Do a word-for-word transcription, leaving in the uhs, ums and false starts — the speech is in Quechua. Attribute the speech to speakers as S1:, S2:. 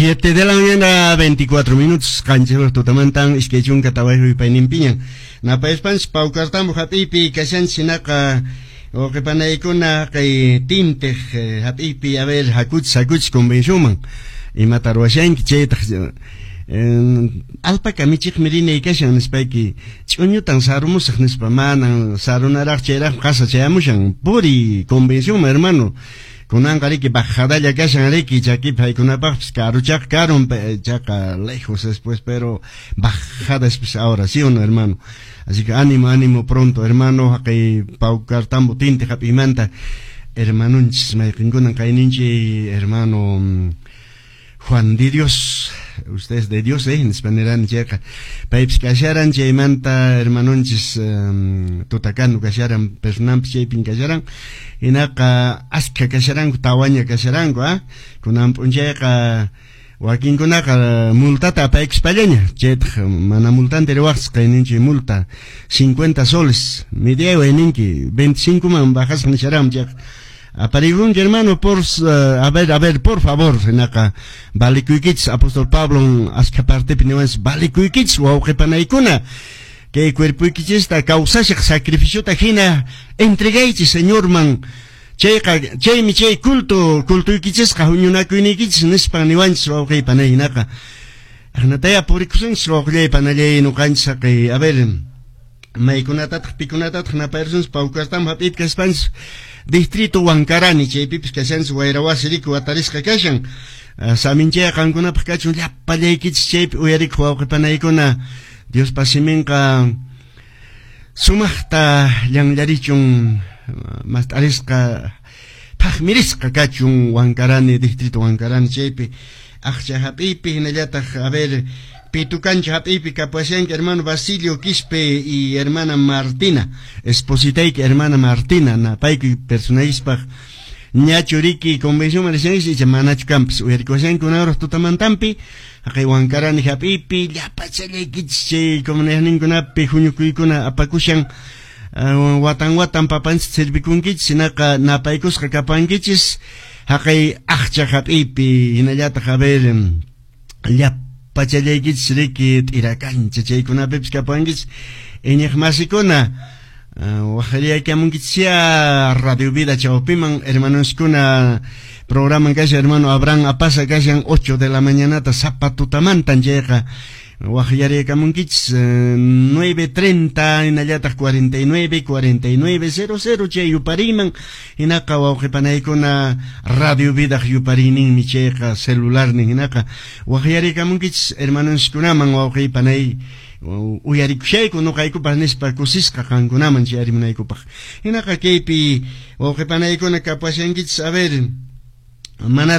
S1: Siete de la mañana, veinticuatro minutos, qanchis tutamantan, iskay chunka tawayuq yupayninpiñan. Napayaspanchis Paucartambo hap'iypi kashanchis, hinaqa wawqipanaykuna kay tintiq hap'iypi, a ver, hakuchis, hakuchis convencionman. Imata ruwashanki chaytaq alpaca michiqmi rinay kashan nispayki ch'uñutan sarumusaq nispa manan sarunaraq chayraq qasa chayamushan puri convencionman, hermano. Kunanqa riki bajadalla kashan riki chakipi haykunapaqpis karuchaq karun chaqa lejos después, pero bajada después ahora, ¿sí o no, hermano? Así que ánimo, ánimo pronto, hermano. Haqay Paucartambo tinti hap'imanta hermanunchis mayqinkunan kayninchi hermano Juan de Dios, ustedes de Dios, eh, nispa nirani chayqa paypis kasharan chaymanta hermanunchis um, tutakanu kasharan personanpis chaypin kasharan hinaqa askha kasharanku tawaña kasharanku ah kunan p'unchayqa wakinkunaqa multata apaykuspallaña chaytaq mana multanta riwaqchis qayninchik multa cincuenta soles mediaway ninki veinticinco man bajasqa nisharam chayqa aparigunki, hermano, por uh, a ver, a ver, por favor, hinaqa valikuykichis. Apóstol Pablo askha partepi niwanchis valikuykichis wawqipanaykuna kay cuerpoykichista kawsashaq sacrificiota hina entregaychis Señorman chayqa chaymi chay culto cultuykichisqa huñunakuyniykichis nispan niwanchis wawqipanay hinaqa aqnataya purikusunchis wawqillay panallay nuqanchis haqay a ver maykunatataq pikunatataq napayrusunchis Paucartambo hap'iypi kaspanchis distrito Huancarani chaypipis kashanchis wayrawasi riki watarisqa kashan saminchaya qankunapaq kachun llapallaykichis chaypi uyarikuq wawqipanaykuna Diospa siminqa sumaqta llanllarichun mast'arisqa phaqmirisqa kachun Huancarani distrito Huancarani chaypi aqcha hap'iypi hinallataq a ver Pitucancha hap'iypi kapuashanki hermano Basilio Quispe y hermana Martina, espositayki hermana Martina napaykuy personayispaq ñachu riki convención marishanchis icha manachu kanpis uyarikuashanki kunanraq tutamantampi haqay Huancarani hap'iypi llapachallaykichis chay comunidadninkunapi huñukuykuna apakushan uh, watan watan papanchis servikunkichis hinaqa napaykusqa kapankichis haqay aqcha hap'iypi hinallataq a ver llapachallaykichis riki t'irakancha chaykunapipis kapankichis iñiqmasikuna waqriyaykamunkichis Radio Vida chawpiman hermanoskuna programan kashan hermano Abraham Apasa kashan ocho de la mañanata sapa tutamantan chayqa waqyariykamunkichis nueve treinta hinallataq cuarenta y nueve cuarenta y nueve cero cero chay yupariman hinaqa wawqipanaykuna Radio Vidaq yupariyninmi chayqa celularnin hinaqa waqyariykamunkichis hermanoskunaman wawqipanay uyarikushayku nuqaykupaq nispa kusisqa qankunaman chayarimunaykupaq hinaqa kaypi wawqipanaykuna kapuashankichis a ver manaraq.